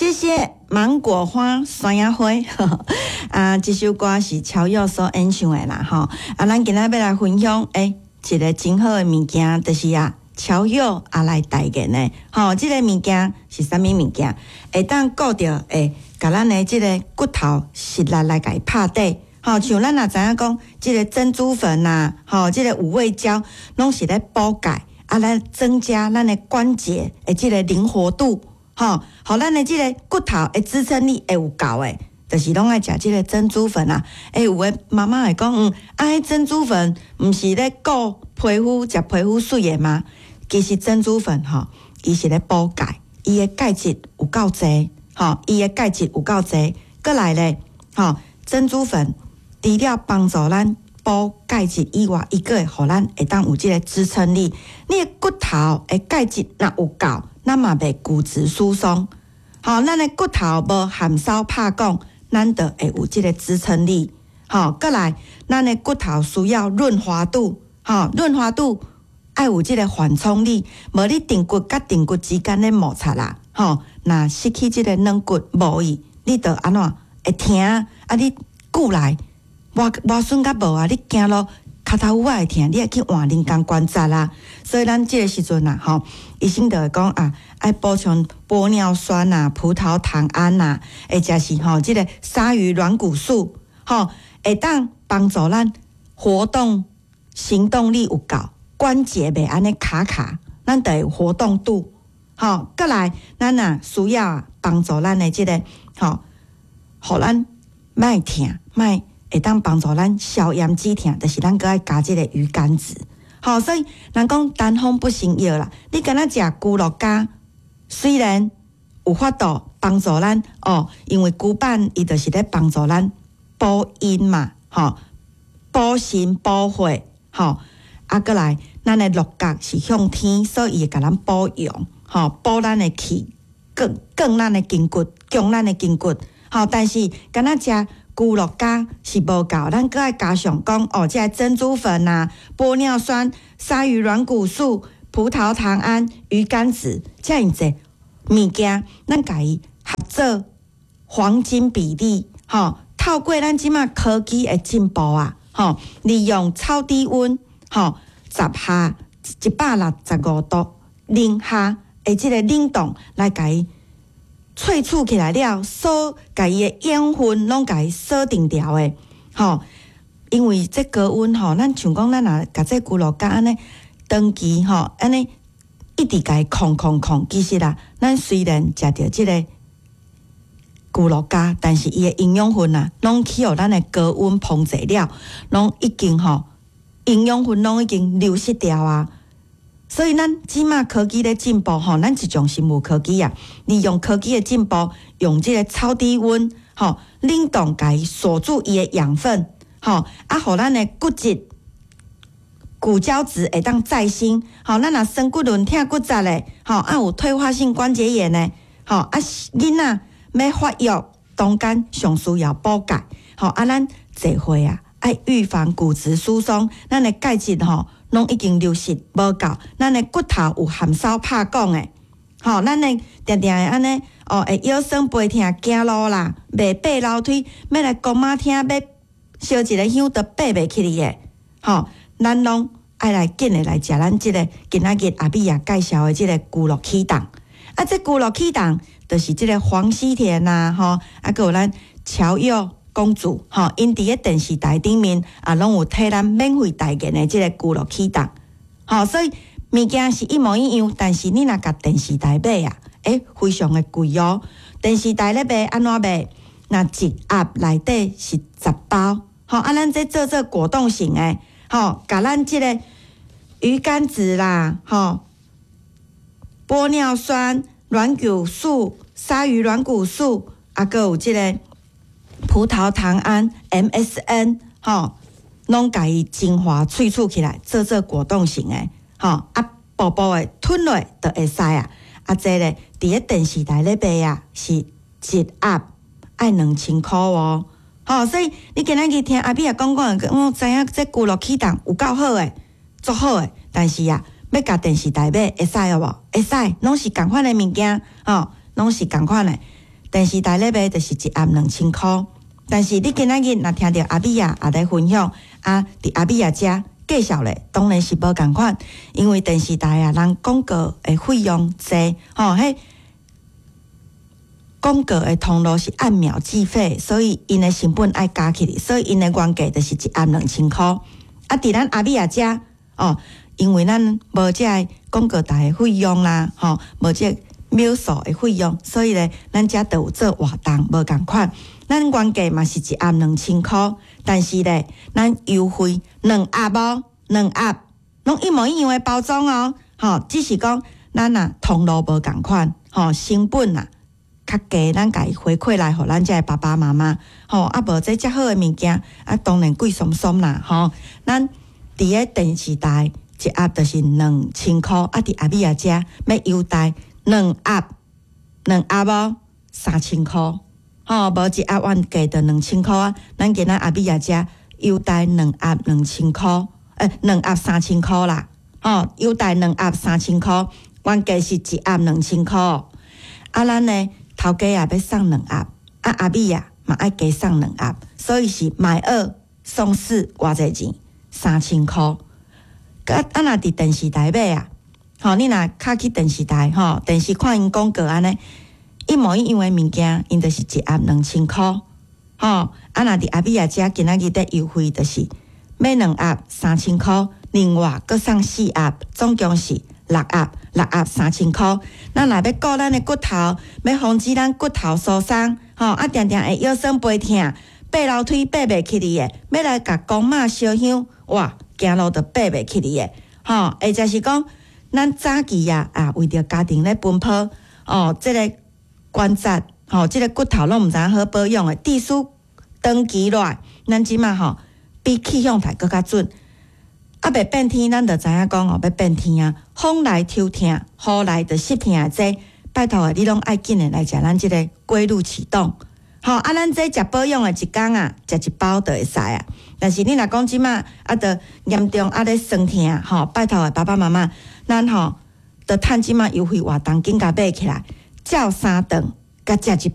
謝謝芒果花山仔花啊！這首歌是喬佑所演唱的啦，吼！啊，咱今仔欲來分享，一个真好的物件，就是啊，喬佑啊來代言的，吼！這个物件是啥物物件？會當顧著會共咱的這个骨頭實力來共伊拍底，吼！像咱若知影講，這个珍珠粉啊，吼，這个五味膠，攏是咧補鈣，啊，來增加咱的關節的這个靈活度。吼，予咱的這个骨頭的支撐力會有夠的，就是攏愛食這个珍珠粉啊。有的媽媽會講，啊，彼珍珠粉毋是咧顧皮膚，食皮膚媠的嗎？其實珍珠粉吼，伊是咧補鈣，伊的鈣質有夠濟，吼，伊的鈣質有夠濟。閣來咧，吼，珍珠粉除了幫助咱補鈣質以外，伊閣會予咱會當有這个支撐力。你的骨頭的鈣質若有夠，咱嘛袂骨質疏鬆，吼，咱的骨頭無含梢拍拱，咱就會有這个支撐力。吼，閣來，咱的骨頭需要潤滑度，吼，潤滑度愛有這个緩衝力，無你顢骨佮顢骨之間咧摩擦啦，吼，若失去這个軟骨無去，你就按怎會疼啊？你久來磨磨損較無啊？你行路跤頭趺仔會疼，你愛去換人工關節啦。所以咱這个時陣啊，吼，醫生就會講啊，愛補充玻尿酸啊、葡萄糖胺啊，或者是吼這个鯊魚軟骨素，吼，會當幫助咱活動行動力有夠，關節袂按呢卡卡，咱就會有活動度。吼，閣來，咱若需要啊，幫助咱的這个吼，予咱莫疼，莫會當幫助咱消炎止疼，就是咱閣愛加這个魚肝子。吼，所以人講單方不成藥啦。你敢若食龜鹿膠，雖然有法度幫助咱哦，因為龜板伊就是咧幫助咱補陰嘛，吼，補腎補血，吼，啊，閣來咱的鹿角是向天，所以伊會共咱補陽，吼，補咱的氣，強強咱的筋骨，強咱的筋骨，吼。但是敢若食龜鹿膠是無夠，咱閣愛加上講哦，這个珍珠粉啊、玻尿酸、鯊魚軟骨素、葡萄糖胺、魚肝子，遮爾濟物件，咱共伊合做黃金比例，吼，透過咱這馬科技的進步啊，吼，利用超低溫，吼，十下165度零下的這个冷凍來共伊萃取起來了，鎖共伊的養分攏共伊鎖定牢的，吼。因為這高溫吼，咱像講咱若共這龜鹿膠按呢長期吼，按呢一直共伊控控控，其實啊，咱雖然食著這个龜鹿膠，但是伊的營養分啊，攏去予咱的高溫烹製了，攏已經吼營養分攏已經流失掉啊。所以咱這馬科技咧進步吼，咱一種生物科技啊，利用科技的進步，用這个超低溫吼冷凍共伊鎖住伊的養分，吼啊，予咱的骨質、骨膠質會當再生，吼，咱若酸骨輪、疼骨折的，吼啊有退化性關節炎的，吼啊囡仔欲發育中間上需要補鈣，吼啊咱濟歲啊愛預防骨質疏鬆，咱的鈣質吼攏已經流失無夠，咱的骨頭有含梢拍拱的，吼，咱的定定會按呢哦，會腰酸背疼、行路啦，袂爬樓梯，欲來公媽廳欲燒一個香都爬袂起去的，吼，咱攏愛來緊的來食咱這个今仔日阿美仔介紹的這个龜鹿啟動，啊，這龜鹿啟動就是這个黃西田啊，吼，啊，閣有咱喬佑公主，吼，𪜶佇咧電視台頂面啊，攏有替咱免費代言的這个龜鹿啟動，吼，所以物件是一模一樣，但是你若共電視台買啊，非常的貴哦。電視台咧賣按怎賣？若一盒內底是10包，吼，啊，咱這做做果凍型的，吼，共咱這个魚肝子啦，吼，玻尿酸、軟骨素、鯊魚軟骨素，啊，閣有這个葡萄糖胺 MSM，吼，攏共伊精華萃取起來，做做果凍型的，吼，啊，薄薄的吞落就會使啊。啊，這咧佇咧電視台咧賣啊，是一盒愛2000箍哦。吼，所以你今仔日聽阿美仔講講，我知影這龜鹿啟動有夠好的，足好的，但是啊，欲共電視台買會使無？會使，攏是仝款的物件，吼，攏是仝款的。電視台咧賣就是一盒兩千箍。但是你今仔日若聽著阿美仔也咧分享，啊，佇阿美仔遮介紹咧，當然是無仝款，因為電視台啊，人廣告的費用濟，吼，彼廣告的通路是按秒計費，所以𪜶的成本愛加起來，所以𪜶的原價就是一盒兩千箍。啊，佇咱阿美仔遮，哦，因為咱無這个廣告台的費用啦，吼，無這個秒數的費用，所以咧，咱遮就有做活動，無仝款。咱原價嘛是一盒兩千箍，但是咧，咱優惠兩盒哦，兩盒攏一模一樣的包裝哦，吼，只是講咱啊通路無仝款，吼，成本啊較低，咱共伊回饋來予咱遮的爸爸媽媽，吼，啊無這遮好的物件，啊當然貴鬆鬆啦，吼，咱佇个電視台一盒就是兩千箍，啊佇阿美仔遮欲優待兩盒，兩盒哦，三千箍。吼，無一盒原價就兩千箍啊！咱今仔阿美仔遮優待兩盒兩千箍，兩盒三千箍啦！吼，優待兩盒三千箍，原價是一盒兩千箍。啊，咱呢頭家也欲送兩盒，啊阿美仔嘛愛加送兩盒，所以是買二送四，偌濟錢？三千箍。啊啊，若佇電視台買啊，吼，你若較去電視台吼，電視看𪜶廣告按呢。一模一樣的物件，𪜶就是一盒兩千箍，吼！啊，若佇阿美仔遮今仔日咧優惠，就是買兩盒三千箍，另外閣送四盒，總共是六盒，六盒三千箍。咱若欲顧咱的骨頭，欲防止咱骨頭疏鬆，吼！啊，定定會腰酸背疼，爬樓梯爬袂起來的，欲來共公媽燒香，哇，行路就爬袂起來的，吼！或者是講，咱早期啊，啊，為著家庭咧奔波，哦，這个關節吼，這个骨頭攏毋知影好保養的，致使長期落來，咱這馬吼比氣象台閣較準。啊，欲變天，咱就知影講哦，欲變天啊，風來抽疼，雨來就濕疼的這，拜託的，你攏愛緊的來食咱這个龜鹿啟動。吼，啊，咱這食保養的一工啊，食一包就會使啊。但是你若講這馬啊，著嚴重啊咧酸疼，吼，拜託的爸爸媽媽，咱吼著趁這馬優惠活動緊共買起來。照三頓，共食一